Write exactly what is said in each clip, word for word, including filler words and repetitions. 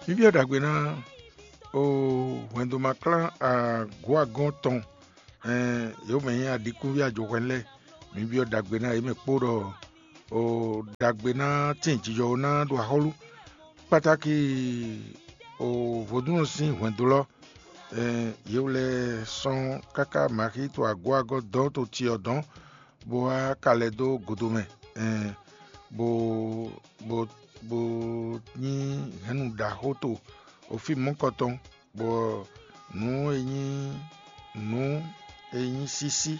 Mǐ byɔ́ ɖagbe ná o hwɛndo ma klán agɔ̌ agɔ́n tɔn, ɛn yě mɛ nyí aɖikúnví ajohwɛn lɛ́ɛ. Mǐ byɔ́ ɖagbe ná yě mɛ kpó ɖɔ o ɖagbe ná tín jijɔ ná ɖo axɔ́lú kpátáki o vodúnnɔ sín hwɛndo lɔ. Ɛn yě wlɛ́ sɔ́n káká maxí to agɔ́ agɔ́ dɔn to cyɔ dɔn bó wá ka lɛ́ dó godo mɛ, ɛn bó bó bó nyí hɛ̌nnu ɖaxó to ofí mɔ̌kɔtɔn, bɔ nǔ e nyí nǔ e nyí sísí,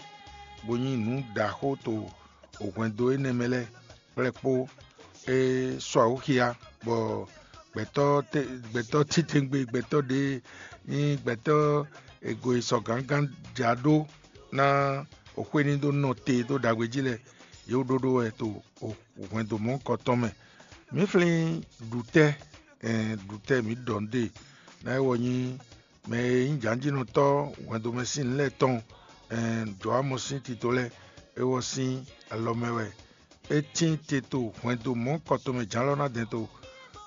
bó nyí nǔ ɖaxó to hwɛndo énɛ́ mɛ lɛ́ɛ kplɛ́ kpó. É sɔ́ awǔ xia, bɔ gbɛ̌tɔ́ tɛ́ gbɛ̌tɔ́ titewungbe, gbɛ̌tɔ́ ɖě nyí gbɛ̌tɔ́ e go e sɔ gǎngán ja ɖó ná xwé ní dó nɔ te dó ɖagbe jí lɛ́ɛ, yě wú ɖóɖó wɛ to hwɛndo mɔ̌kɔ tɔn mɛ. Mǐ flín ɖutɛ́, ɛn ɖutɛ́ mǐ ɖɔ nǔ ɖe ná é wɔ nyí mɛ e nyí jǎnjínɔtɔ́ hwɛndo mɛ sín nǔ lɛ́ɛ tɔn, ɛn jɔ̌ amɔ sín tito lɛ́ɛ é wɔ sín alɔ mɛ wɛ. É tín te to hwɛndo mɔ̌kɔ tɔn mɛ jǎn lɔ ná dɛn to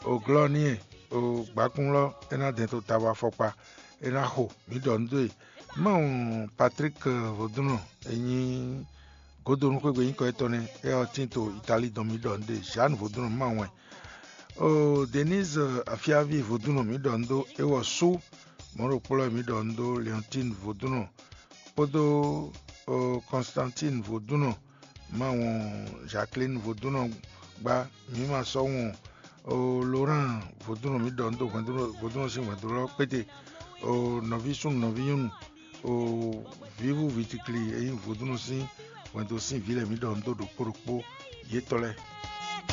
oglɔ́ n'i e o gbǎkún lɔ é ná dɛn to tabo afɔkpa é ná xo. Mǐ ɖɔ nǔ dó e. Mawu Patrík Vodúnnɔ e nyí Godonu xwé gbe nyíkɔ étɔn nɛ́, é ɔ́ tín to Italíi dɔn mǐ ɖɔ nǔɖé. Jeanne Vodúnnɔ Mawɛ. O Denise Afiavi Vodúnnɔ mǐ ɖɔ nǔ dó, é wɔ sú mɔ̌ ɖokpó lɛ́ɛ mǐ ɖɔ nǔ dó, Leontine Vodúnnɔ kpódó o Constantine Vodúnnɔ Mawɔ, Jacqueline Vodúnnɔ gbá, mǐ ma sɔ́ wɔn o Laurent Vodúnnɔ mǐ ɖɔ nǔ dó hwɛ̌ndúnɔ Vodúnnɔ sín hwɛ̌ndúnɔ kpéte o nɔví súnnu nɔví nyɔ́nu o vǐvú vǐtikli e nyí Vodúnnɔ sín hwɛndo sín vǐ lɛ́ɛ mǐ ɖɔ nǔ dó ɖokpó ɖokpó yětɔn lɛ́ɛ.